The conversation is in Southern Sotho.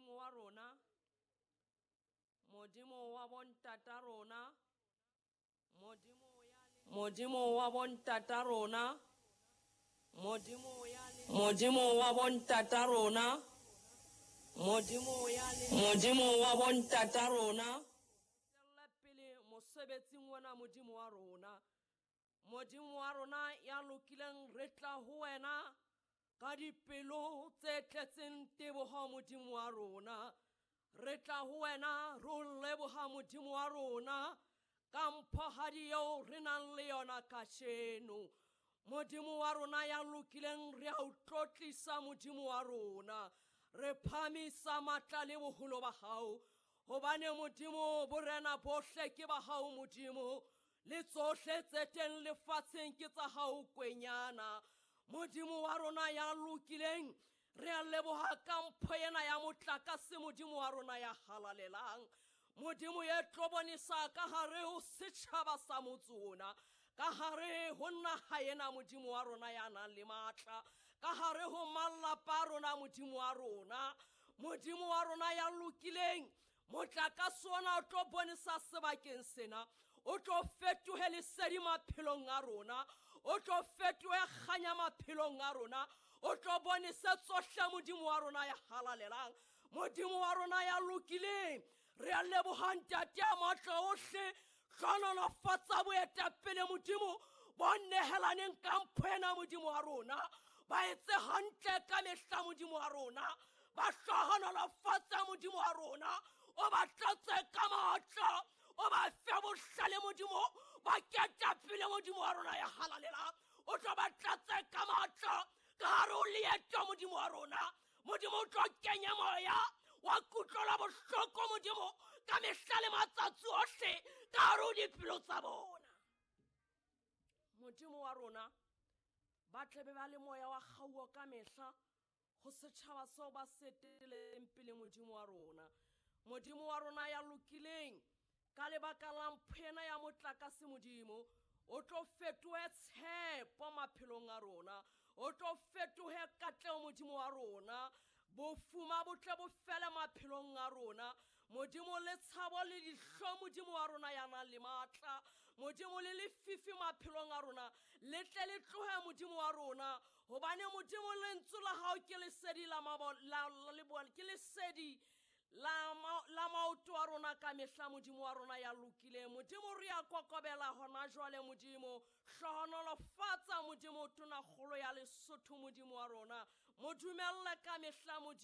Modimo wa rona, Modimo wa bontata rona, Modimo wa bontata rona, Modimo wa bontata rona, Modimo wa bontata rona. Tswella pele mosebetsing ona Modimo wa rona. Modimo wa rona ya lokileng re tla ho wena ka dipelo tse tletseng teboho Modimo wa rona. Re tla ho wena re o leboha Modimo wa rona ka mphohadi eo re nang le yona kasheno. Modimo wa rona ya lokileng re a o tlotlisa Modimo wa rona. Re phamisa matla le boholo ba hao. Hobane Modimo borena bohle ke ba hao Modimo. Le tsohle tse teng lefatsheng ke tsa hao kwenyana. Modimo wa rona ya lokileng re a leboha ka mpho ena ya motlakase Modimo wa rona ya halalelang. Modimo e tlo bonesa ka hare ho setjhaba sa motse ona, ka hare ho naha ena Modimo wa rona ya nang le matla, ka hare ho malapa a rona Modimo wa rona. Modimo wa rona ya lokileng, motlakase ona o tlo bonesa sebakeng sena, o tlo fetohe lesedi maphelong a rona, o tlo fetohe kganya maphelong a rona, o tlo bonese tsohle Modimo wa rona ya halalelang. Modimo wa rona ya lokileng, re a leboha Ntate ya matla ohle, hlohonolofatsa boetapele Modimo bo nehelaneng ka mpho ena Modimo wa rona, ba etse hantle ka mehla Modimo wa rona, ba hlohonolofatsa Modimo wa rona, o ba tlatse ka matla, o ba fe bohlale Modimo, ba ketapele Modimo wa rona ya halalelang, o tlo ba tlatse ka matla ka hare ho leeto Modimo wa rona. Modimo o tlo kenya moya wa kutlwela bohloko Modimo ka mehla le matsatsi ohle ka hare ho dipelo tsa bona. Modimo wa rona, ba tle be ba le moya wa kgauo ka mehla ho setjhaba seo ba se eteletseng pele Modimo wa rona. Modimo wa rona ya lokileng, ka lebaka la mpho ena ya motlakase Modimo, o tlo fetohe tshepo maphelong a rona, o tlo fetohe katleho Modimo wa rona, bofuma bo tle bo fele maphelong a rona. Modimo le tshabo le dihlo Modimo wa rona ya nang le matla, Modimo le lefifi maphelong a rona, le tle le tlohe Modimo wa rona, hobane Modimo lentswe la hao ke lesedi la mabo, la, la, le bo, ke lesedi la ma, la maoto a rona ka mehla Modimo wa rona ya lokileng. Modimo re a kokobela hona jwale Modimo, hlohonolofatsa Modimo tonakgolo ya Lesotho Modimo wa rona, mo dumelle ka mehla Modimo.